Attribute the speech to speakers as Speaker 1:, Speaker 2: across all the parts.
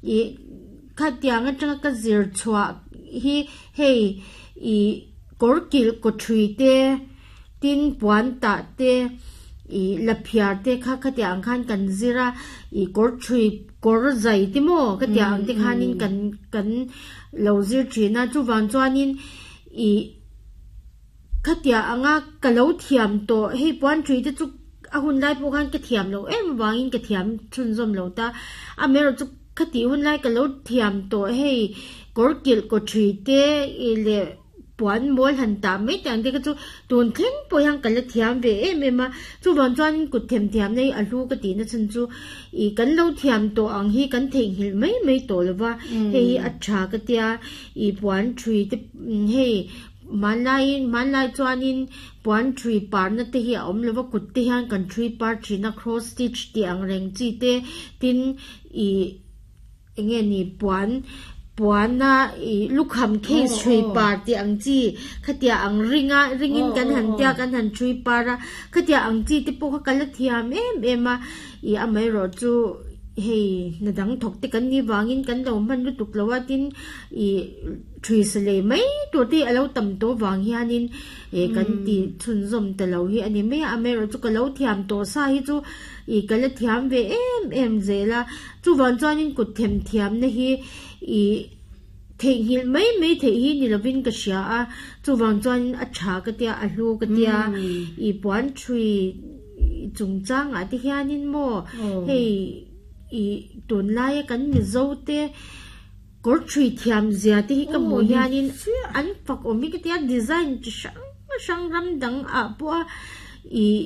Speaker 1: Ih khatiang atanga ka zir chhuah hi hei ih kawr kilh kaw thui te tin puan tah te ih la phiar te kha khatiang ang khan kan zir a ih kawr thui kawr zai te maw khatiang ang te khanin kan kan lo zir thin a chuvang chuanin ih Khatiah anga ka lo thiam tawh, hei puan thui te chu a hun lai pawh khan ka thiam loh em avangin ka thiam chhunzawm lo ta. Amaherawh chu khatih hun lai ka lo thiam tawh hei kawr kilh kaw thui te ih leh puan mawl han tah mai te ang te kha chu tun thleng pawh hian ka la thiam ve em em a. Chuvang chuan kut themthiamna hi a hlu ka tihna chhan chu ih kan lo thiam tawh ang hi kan theihnghilh mai mai tawh lo va, hei hi a tha ka tia ih puan thui te hei Hmanlaiin, hmanlai chuanin puan thui parna te hi a awm lova, kut te hian kan thui par thin a, cross stitch tih ang reng chi te, tin ih eng nge ni puan puana ih lukham case thui par tih ang chi khatiah ang ringa ringin kan han tia kan han thui par a, khatiah ang chi te pawh kha ka la thiam em em a, ih amaherawh chu hei hna dang thawk te kan nih vangin kan lo hman lutuk lo a, tin ih. Thui sa lei mai tur te hi a lo tam tawh vang hianin eh kan ti chhunzawm ta lo hi a ni mai a, amaherawh chu ka lo thiam tawh sa hi chu ih ka la thiam ve em em zel a, chuvang chuanin kut them thiamna hi ih theihnghilh mai mai theih hi ni lovin ka hria a, chuvang chuanin a tha ka tia a hlu ka tia ih puan thui chungchangah te hianin maw hei ih tunlaia kan Mizo te. Kawr thui thiam zia te hi ka hmuh hianin an fak awm hi ka tia design chi hrang hrang ram dang ah pawh a ih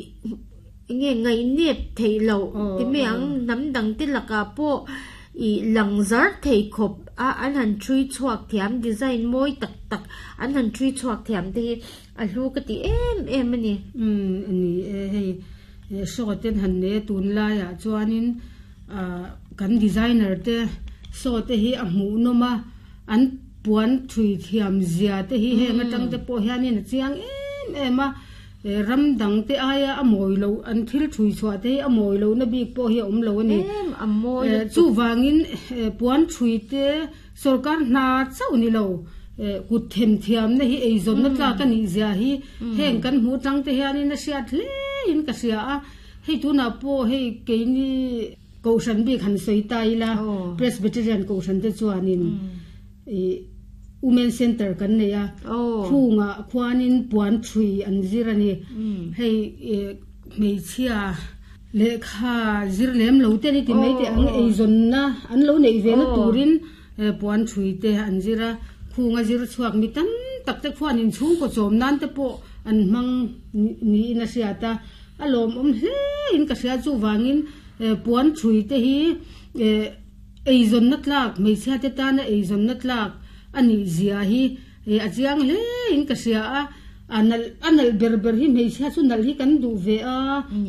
Speaker 1: eng nge ngaihnep theih loh ti mai ang hnam dang te lakah pawh ih lang zar thei khawp a an han thui chhuak thiam design mawi tak tak an han thui chhuak thiam te hi a hlu ka ti em em a ni.
Speaker 2: Umm a ni e hei saw ten han nei a tunlaiah chuanin. Ahh kan designer te saw te hi a hmuhnawm a, an puan thui thiam zia te hi heng atang te pawh hianin a chiang em em a, ram dang te aia a mawi loh an thil thui chhuah te hi a mawi lohna bik pawh hi a awm lo a ni. Chuvangin puan thui te sorkar hna chauh ni lo kut themthiamna hi eizawnna tlak a nih zia hi heng kan hmuh atang te hianin a hriat hle in ka hria a. Hei tunah pawh hei keini Kohhran bik han sawi ta ila, Presbyterian Kohhran te chuanin ih Women Centre kan nei a, khungah khuanin puan thui an zir a ni. Hei ih hmeichhia lehkha zir lem lo te a ni ti mai teh ang eizawnna an lo neih ve na turin puan thui te an zir a, khunga zir chhuak mi tam tak te khuanin chhungkaw chawm nan te pawh an hmang niin a hriat a. A lawmawm hle in ka hria chuvangin puan thui te hi eizawnna tlak hmeichhia te tana eizawnna tlak a nih zia hi a chiang hle in ka hria a, a nalh a nalh ber ber hi hmeichhia chu nalh hi kan duh ve a,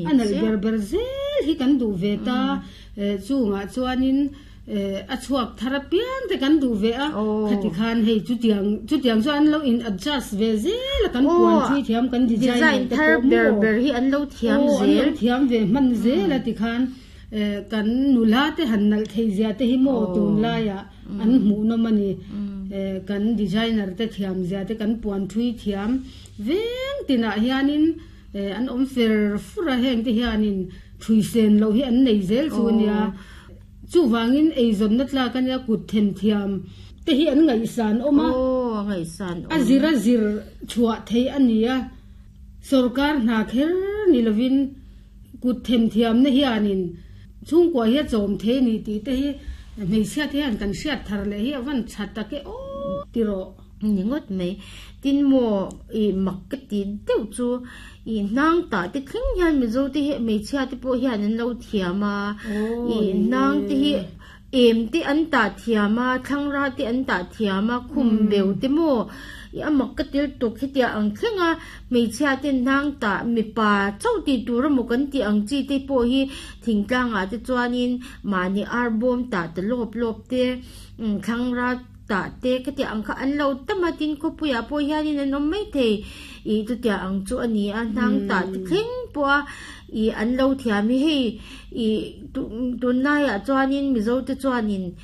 Speaker 2: a nalh ber ber zel hi kan duh ve ta chungah chuanin. A chhuak thar apiang te kan duh ve a, khati khan hei chutiang chutiang chu an lo in adjust ve zel a kan puan thui thiam kan design te
Speaker 1: pawh maw ber hi an lo thiam zel
Speaker 2: an lo thiam ve hman zel a tikhan kan nula te han nalh theih zia te hi maw tunlaiah an hmuhnawm a ni kan designer te thiam zia te kan puan thui thiam veng tinah hianin an awm fer fur a heng te hianin thui sen loh hi an nei zel chu a nia. Chuvangin eizawnna tlak a nia kut themthiam te hi an ngaihsan awm a, a zir a zir chhuah theih a ni a, sorkar hna kher ni lovin kut themthiamna hianin chhungkua hi a chawm thei a ni tih te hi hmeichhia te hian kan hriat thar leh hi a van tha tak e aw ti rawh.
Speaker 1: Ni ngawt mai. Tin maw ih mak ka ti deuh chu ih hnang tah te thleng hian Mizo te hi hmeichhia te pawh hian an lo thiam a, ih hnang te hi em te an tah thiam a, thlangra te an tah thiam a, khum beu te maw ih a mak ka ti lutuk hetiang ang thleng a hmeichhia ten hnang tah mipa chauh tih tur emaw kan tih ang chi te pawh hi thingtlangah te chuanin mahni arbawm tah ta lawp lawp te thlangra Tah te ka tih ang kha an lo tam a, tin khawpuiah pawh hianin an awm maithei ih chutiang ang chu a ni a, hnang tah te thleng pawh a ih an lo thiam hi hei ih tunlaiah chuanin Mizo te chuanin.